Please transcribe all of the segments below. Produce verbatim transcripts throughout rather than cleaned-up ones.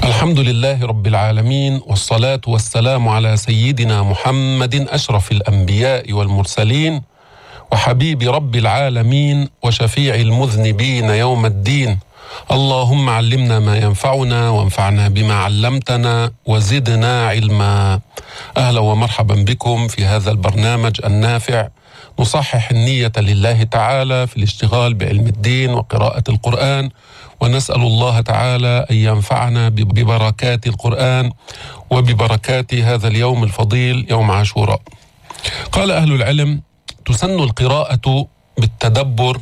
الحمد لله رب العالمين، والصلاة والسلام على سيدنا محمد أشرف الأنبياء والمرسلين وحبيب رب العالمين وشفيع المذنبين يوم الدين. اللهم علمنا ما ينفعنا وانفعنا بما علمتنا وزدنا علما. أهلا ومرحبا بكم في هذا البرنامج النافع، نصحح النية لله تعالى في الاشتغال بعلم الدين وقراءة القرآن، ونسأل الله تعالى أن ينفعنا ببركات القرآن وببركات هذا اليوم الفضيل يوم عاشوراء. قال أهل العلم: تسن القراءة بالتدبر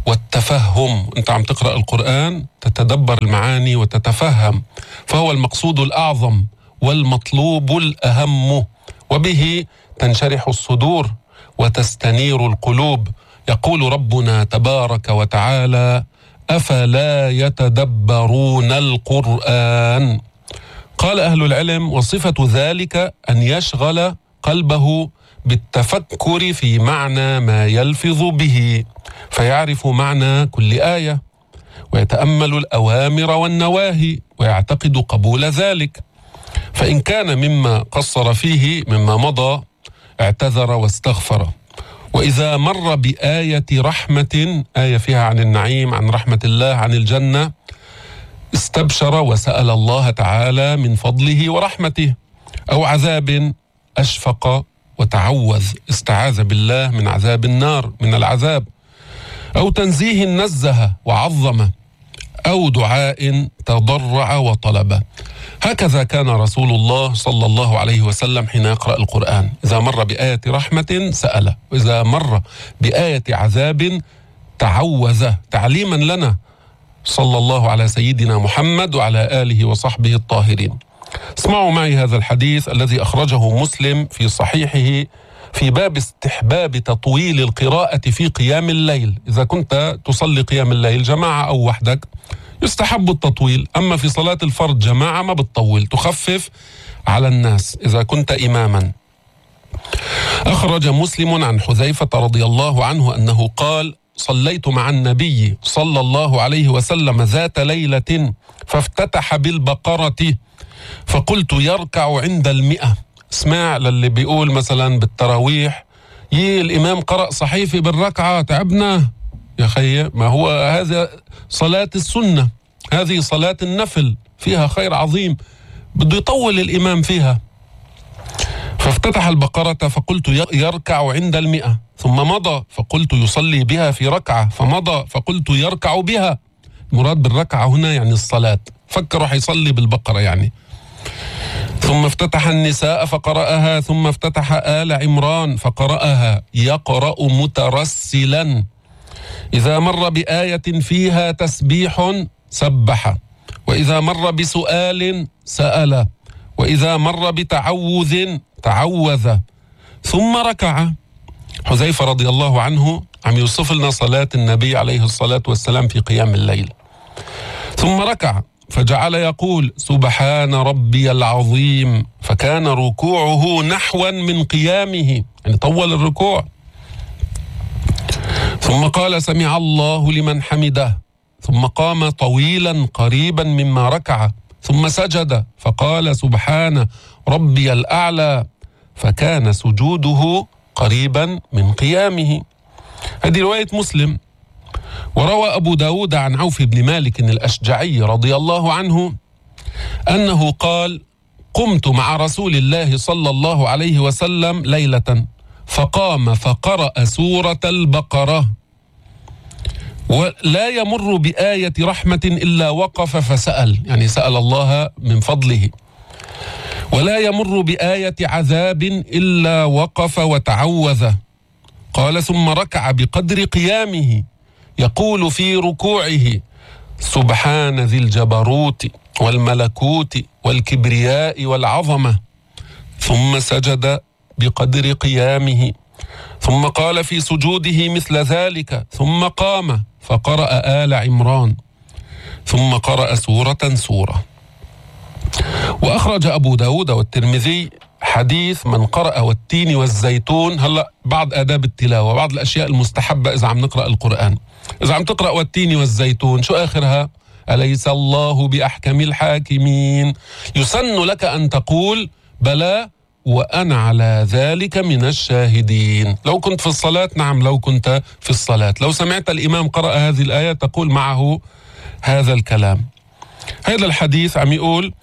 والتفهم. أنت عم تقرأ القرآن تتدبر المعاني وتتفهم، فهو المقصود الأعظم والمطلوب الأهم، وبه تنشرح الصدور وتستنير القلوب. يقول ربنا تبارك وتعالى: أفلا يتدبرون القرآن. قال أهل العلم: وصفة ذلك أن يشغل قلبه بالتفكر في معنى ما يلفظ به، فيعرف معنى كل آية ويتأمل الأوامر والنواهي ويعتقد قبول ذلك، فإن كان مما قصر فيه مما مضى اعتذر واستغفر. وإذا مر بآية رحمة، آية فيها عن النعيم، عن رحمة الله، عن الجنة، استبشر وسأل الله تعالى من فضله ورحمته. أو عذاب أشفق وتعوذ، استعاذ بالله من عذاب النار، من العذاب. أو تنزيه نزه وعظم، أو دعاء تضرع وطلب. هكذا كان رسول الله صلى الله عليه وسلم حين يقرأ القرآن، إذا مر بآية رحمة سأل، وإذا مر بآية عذاب تعوذ، تعليما لنا صلى الله على سيدنا محمد وعلى آله وصحبه الطاهرين. اسمعوا معي هذا الحديث الذي أخرجه مسلم في صحيحه في باب استحباب تطويل القراءة في قيام الليل. إذا كنت تصلي قيام الليل جماعة أو وحدك يستحب التطويل، أما في صلاة الفرض جماعة ما بتطول، تخفف على الناس إذا كنت إماما. أخرج مسلم عن حذيفة رضي الله عنه أنه قال: صليت مع النبي صلى الله عليه وسلم ذات ليلة فافتتح بالبقرة فقلت يركع عند المئة. اسمع للي بيقول مثلا بالتراويح: يي الإمام قرأ صحيفة بالركعة، تعبنا يا خي، ما هو هذا صلاة السنة، هذه صلاة النفل فيها خير عظيم، بده يطول الإمام فيها. فافتتح البقرة فقلت يركع عند المئة، ثم مضى فقلت يصلي بها في ركعة، فمضى فقلت يركع بها. المراد بالركعة هنا يعني الصلاة، فكروا حيصلي بالبقرة يعني. ثم افتتح النساء فقرأها، ثم افتتح آل عمران فقرأها يقرأ مترسلا. إذا مر بآية فيها تسبيح سبح، وإذا مر بسؤال سأل، وإذا مر بتعوذ تعوذ، ثم ركع. حذيفة رضي الله عنه عم يوصف لنا صلاة النبي عليه الصلاة والسلام في قيام الليل. ثم ركع فجعل يقول: سبحان ربي العظيم، فكان ركوعه نحوا من قيامه، يعني طول الركوع. ثم قال: سمع الله لمن حمده، ثم قام طويلا قريبا مما ركع، ثم سجد فقال: سبحان ربي الأعلى، فكان سجوده قريبا من قيامه. هذه رواية مسلم. وروى أبو داود عن عوف بن مالك الأشجعي رضي الله عنه أنه قال: قمت مع رسول الله صلى الله عليه وسلم ليلة فقام فقرأ سورة البقرة، ولا يمر بآية رحمة إلا وقف فسأل، يعني سأل الله من فضله، ولا يمر بآية عذاب إلا وقف وتعوذ. قال: ثم ركع بقدر قيامه يقول في ركوعه: سبحان ذي الجبروت والملكوت والكبرياء والعظمة، ثم سجد بقدر قيامه، ثم قال في سجوده مثل ذلك، ثم قام فقرأ آل عمران، ثم قرأ سورة سورة. وأخرج أبو داود والترمذي حديث من قرأ والتين والزيتون. هلأ بعض آداب التلاوة، بعض الأشياء المستحبة إذا عم نقرأ القرآن. إذا عم تقرأ والتين والزيتون شو آخرها؟ أليس الله بأحكم الحاكمين. يسن لك أن تقول بلى وأنا على ذلك من الشاهدين. لو كنت في الصلاة، نعم لو كنت في الصلاة، لو سمعت الإمام قرأ هذه الآية تقول معه هذا الكلام. هذا الحديث عم يقول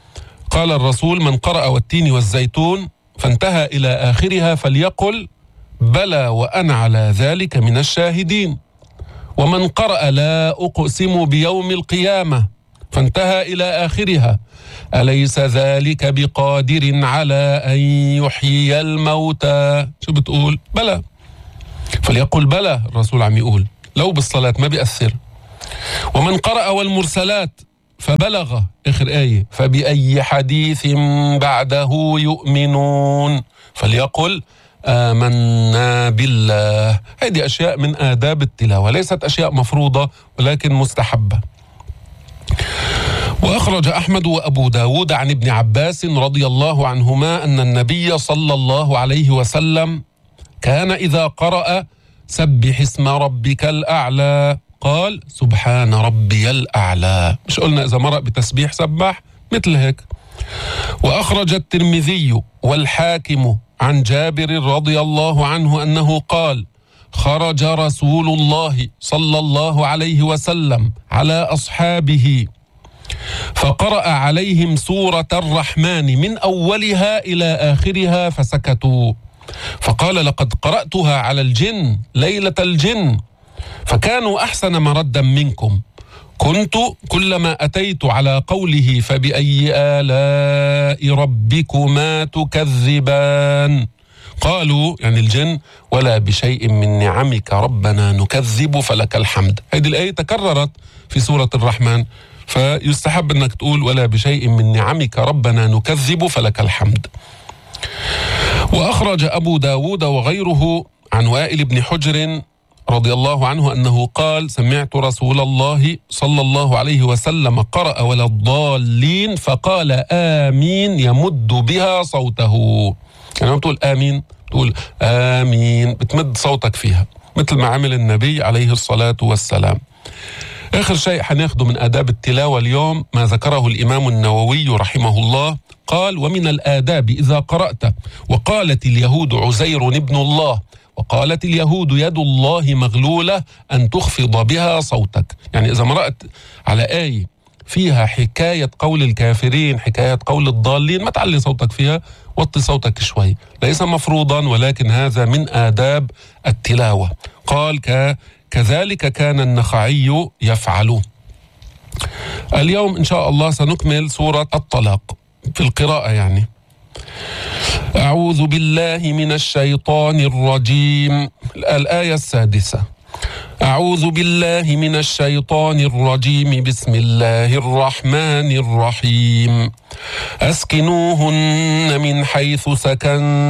قال الرسول: من قرأ والتين والزيتون فانتهى إلى آخرها فليقل بلى وأنا على ذلك من الشاهدين. ومن قرأ لا أقسم بيوم القيامة فانتهى إلى آخرها أليس ذلك بقادر على أن يحيي الموتى، شو بتقول؟ بلى. فليقل بلى، الرسول عم يقول لو بالصلاة ما بيأثر. ومن قرأ والمرسلات فبلغ آخر آية فبأي حديث بعده يؤمنون فليقل آمنا بالله. هذه أشياء من آداب التلاوة، ليست أشياء مفروضة ولكن مستحبة. وأخرج أحمد وأبو داود عن ابن عباس رضي الله عنهما أن النبي صلى الله عليه وسلم كان إذا قرأ سبح اسم ربك الأعلى قال سبحان ربي الأعلى. مش قلنا إذا مرق بتسبيح سبح مثل هيك. وأخرج الترمذي والحاكم عن جابر رضي الله عنه أنه قال خرج رسول الله صلى الله عليه وسلم على أصحابه فقرأ عليهم سورة الرحمن من أولها إلى آخرها فسكتوا، فقال لقد قرأتها على الجن ليلة الجن فكانوا أحسن مردا منكم، كنت كلما أتيت على قوله فبأي آلاء ربكما تكذبان قالوا يعني الجن ولا بشيء من نعمك ربنا نكذب فلك الحمد. هذه الآية تكررت في سورة الرحمن، فيستحب أنك تقول ولا بشيء من نعمك ربنا نكذب فلك الحمد. وأخرج أبو داود وغيره عن وائل بن حجر رضي الله عنه أنه قال سمعت رسول الله صلى الله عليه وسلم قرأ ولا الضالين فقال آمين يمد بها صوته. يعني لما بتقول آمين تقول آمين بتمد صوتك فيها مثل ما عمل النبي عليه الصلاة والسلام. آخر شيء حناخده من آداب التلاوة اليوم ما ذكره الإمام النووي رحمه الله، قال ومن الآداب إذا قرأت وقالت اليهود عزير ابن الله وقالت اليهود يد الله مغلولة أن تخفض بها صوتك. يعني إذا مرأت على آية فيها حكاية قول الكافرين حكاية قول الضالين ما تعلي صوتك فيها، وطي صوتك شوي، ليس مفروضا ولكن هذا من آداب التلاوة. قال ك كذلك كان النخعي يفعل. اليوم إن شاء الله سنكمل سورة الطلاق في القراءة. يعني أعوذ بالله من الشيطان الرجيم، الآية السادسة. أعوذ بالله من الشيطان الرجيم بسم الله الرحمن الرحيم. أسكنوهن من حيث سكن